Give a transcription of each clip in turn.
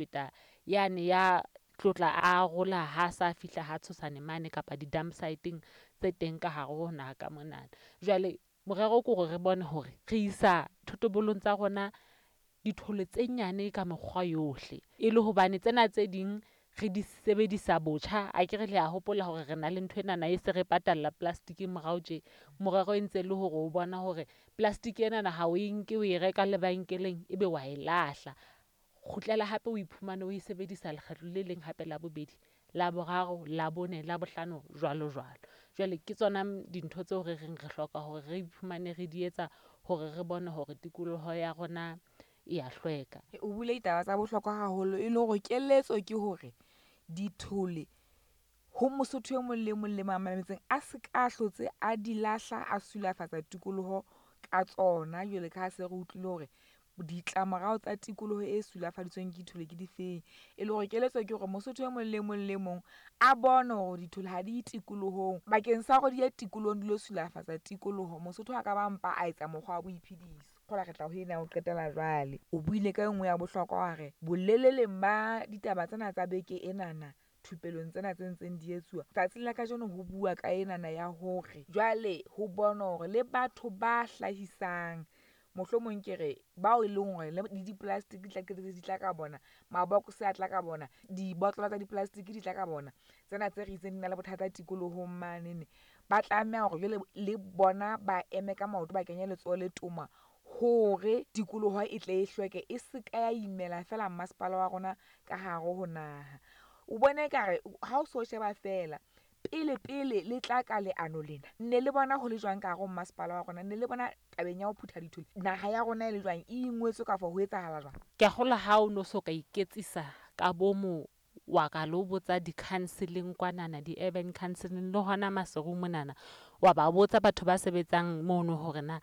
Feta yane ya tlotla a arola ha sa fihla ha Tshosane mane kapa di-dump site-eng tse teng ka hare ho naha ka monana. Jwale morero ke hore re bone hore re isa thotobolong tsa rona dithole tse nyane ka mekgwa yohle. E le hobane tsena tse ding re di sebedisa botjha, akere le a hopola hore re na le ntho enana e se re patalla plastic morao tje. Morero e ntse le hore o bona hore plastic enana ha o e nke o e reka lebenkeleng, ebe wa e lahla. Kgutlela hape o iphumane o e sebedisa lekgetlo le leng hape la bobedi, la boraro, la bone, la bohlano, jwalo jwalo. Jwale ke tsona dintho tseo re reng re hloka hore re iphumane re di etsa hore re bone hore tikoloho ya rona e ya hlweka. O buile ditaba tsa bohlokwa haholo e le hore keletso ke hore dithole ho Mosotho e mong le mong le mametseng a se ka hlotse a di lahla, a sulafatsa tikoloho ka tsona. Jwale ka ha se re utlwile hore ditlamorao tsa tikoloho e sulafaditsweng ke dithole ke difeng. E le hore keletso ke hore Mosotho e mong le mong le mong a bone hore dithole ha di tikolohong. Bakeng sa hore di ye tikolohong di lo sulafatsa tikoloho, Mosotho a ka ba mpa a etsa mokgwa wa boiphediso. Kgola re tla ho ena ho qetela jwale. O buile ka e nngwe ya bohlokwa wa re boleleleng ba ditaba tsena tsa beke enana thupelong tsena tse ntseng di etsuwa. Tsatsing la kajeno ho bua ka enana ya hore jwale ho bonwa hore le batho ba hlahisang mohlomong ke re bao e leng hore le di-plastic di tla qetelletse di tla ka bona, mabokose a tla ka bona, dibotlolo tsa di-plastic di tla ka bona. Tsena tse re itseng di na le bothata tikolohong manene. Ba tlameha hore jwale le bona ba eme ka maoto, ba kenye letsoho le toma hore tikoloho e tle e hlweke, e se ka ya imela feela masepala wa rona ka hare ho naha. O bone ekare ha o so sheba feela pele pele le tla ka leano lena, ne le bona ho le jwang ka hare ho masepala wa rona? Ne le bona tabeng ya ho phutha dithole naha ya rona e le jwang, e ingwetswe kafo ho etsahala jwang? Ke a kgolwa ha o no so ka iketsisa ka bomo wa ka lo botsa di-council-eng kwanana, di-urban council-eng le hona Maseru monana. Wa ba botsa batho ba sebetsang mono hore na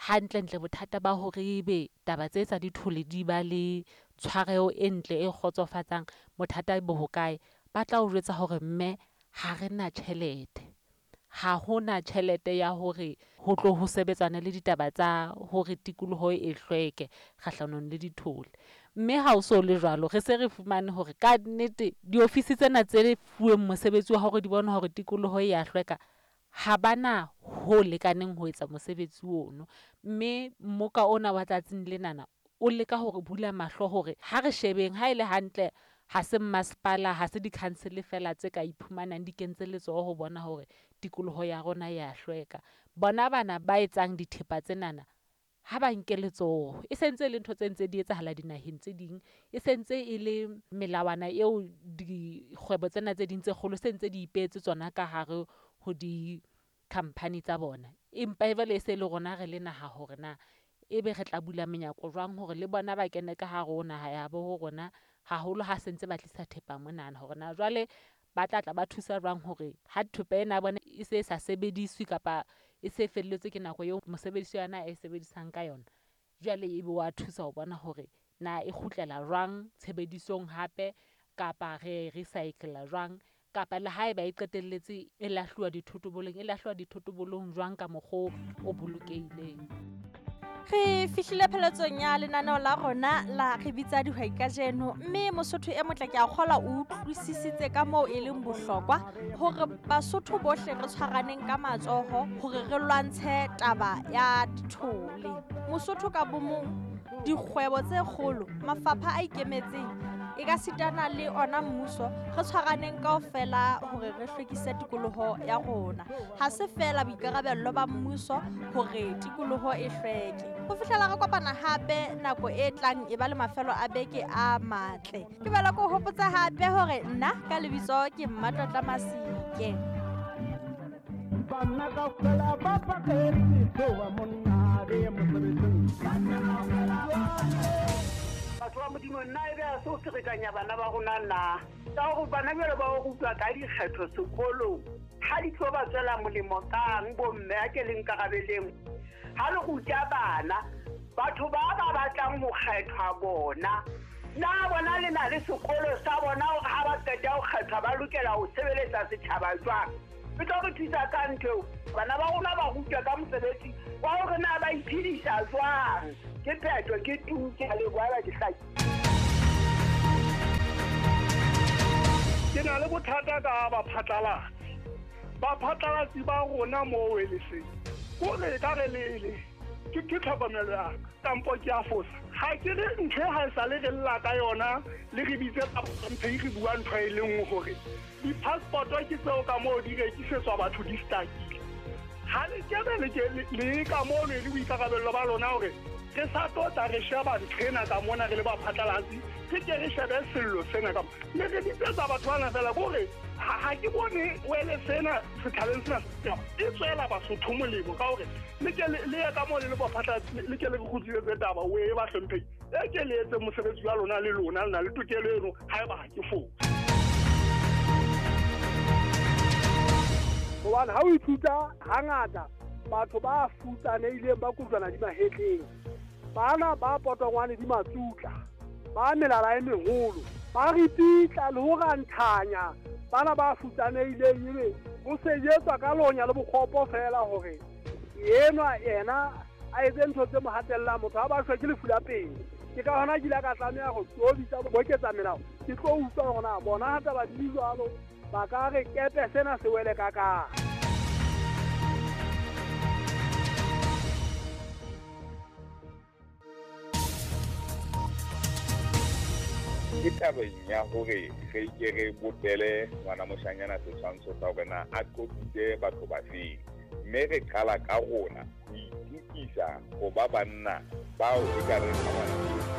hantlentle bothata ba hore ebe taba tse tsa dithole di ba le tshwareho e ntle e kgotsofatsang, bothata bo hokae? Ba tla o jwetsa hore mme ha re na tjhelete. Ha hona tjhelete ya hore ho tlo ho sebetsana le ditaba tsa hore tikoloho e hlweke kgahlanong le dithole. Mme ha o so le jwalo, re se re fumane hore ka nnete diofisi tsena tse fuweng mosebetsi wa hore di bone hore tikoloho e ya hlweka, ha bana ho lekaneng ho etsa mosebetsi ono. Mme mmoka ona wa tsatsing lenana o leka hore bula mahlo hore ha re shebeng ha e le hantle, ha se masepala, ha se di-council feela tse ka iphumanang di kentse letsoho ho bona hore tikoloho ya rona ya hlweka. Bona bana ba etsang dithepa tsenana ha ba nke letsoho. E sentse e le ntho tse ntse di etsahala dinaheng tse ding, e sentse e le melawana eo dikgwebo tsena tse ding tse kgolo se ntse di ipehetse tsona ka hare ho di-company tsa bona. Empa e jwale e se le rona re le naha hore na ebe re tla bula menyako jwang hore le bona ba kene ka hare ho naha ya bo rona, haholo ha se ntse ba tlisa thepa monana. Hore na jwale ba tla tla ba thusa jwang hore ha thepa ena ya bona e se sa sebediswe kapa e se felletswe ke nako eo mosebedisi wa yona a e sebedisang ka yona. Jwale ebe wa thusa ho bona hore na e kgutlela jwang tshebedisong hape kapa re recycle-a jwang, kapa le haeba e qetelletse e lahluwa dithotobolong, e lahluwa dithotobolong jwang ka mokgwa o bolokehileng. Re fihlile pheletsong ya lenaneo la rona la re bitsa dihwai kajeno, mme Mosotho e motle ke a kgolwa o utlwisisitse ka moo e leng bohlokwa hore Basotho bohle re tshwaraneng ka matsoho hore re lwantshe taba ya dithole. Mosotho ka bomong, dikgwebo tse kgolo, mafapha a ikemetseng, e ka sitana le ona mmuso, re tshwaraneng kaofela hore re hlwekise tikoloho ya rona. Ha se feela boikarabello ba mmuso hore tikoloho e hlweke. Ho fihlela re kopana hape nako e tlang e ba le mafelo a beke a matle. Ke bela ko hopotsa hape hore nna ka lebitso ke Mmatlotla Masike. Banna kaofela ba paketse tsoa monna le mosebetsing. Banna kaofela Batho ba Modimo, nna ebe ha se ho ferekanya bana ba rona na? Ka hore bana jwale ba o rutwa ka dikgetho sekolong, ha di tlo ba tswela molemo kang bomme a ke le nkarabeleng? Ha le ruta bana, batho ba ba batlang ho kgethwa bona, na bona le na le sekolo sa bona hore ha ba qeta ho kgethwa ba lokela ho sebeletsa setjhaba jwang? E tlo re thusa ka ntho eo. Bana ba rona ba rutwa ka mosebetsi wa hore na ba iphedisa jwang. Ke phetho, ke tu, ke a leboha, ke hlakile. bothata ka baphatlalatsi. Baphatlalatsi ba rona mo weleseng. Ko re ka re le ke tlhokomelo ya ka kampo ke a fosa. Ha ke re ntho ha e sale re lla ka yona le re bitse mphe re bua ntho e le nngwe hore di-passport ke tseo ka moo di rekisetswa batho di stakile. Ha le kebe le ka moo le boikarabello ba lona hore re sa tota re sheba ntho ena ka mona re le baphatlalatsi, re ke re shebe sello sena ka le re bitsetsa batho bana fela kore ha ke bone wele sena sethaleng sena e tswela Basotho molemo ka hore le ke le ye ka moo le le baphatlalatsi le ke le re kgutlisetse taba o e ba hlomphehile e ke le etse mosebetsi wa lona le lona le na le tokelo eno haeba ha ke fose. Hobane ha o ithuta hangata batho ba futsanehileng ba kujwana di mahetleng, bana ba potongwane di matsutla, ba melala e meholo, ba ripitla le ho ranthanya bana ba futsanehileng, ebe ho sejetswa ka lonya le bokgopo fela hore enwa yena a etse ntho tse mo hatellang motho ha ba shwe ke lefu la pele. Ke ka hona ke ile ka tlameha ho tlo bitsa boketsa melao, ke tlo utlwa hore na bona ha taba di jwalo ba ka re kepe sena se wele ka kae. Ke tabeng ya hore re ke re bopele ngwana moshanyana setshwantsho sa hore na a qotsitse batho ba feng, mme re qala ka rona ho itukisa ho ba banna bao e ka reng ngwana.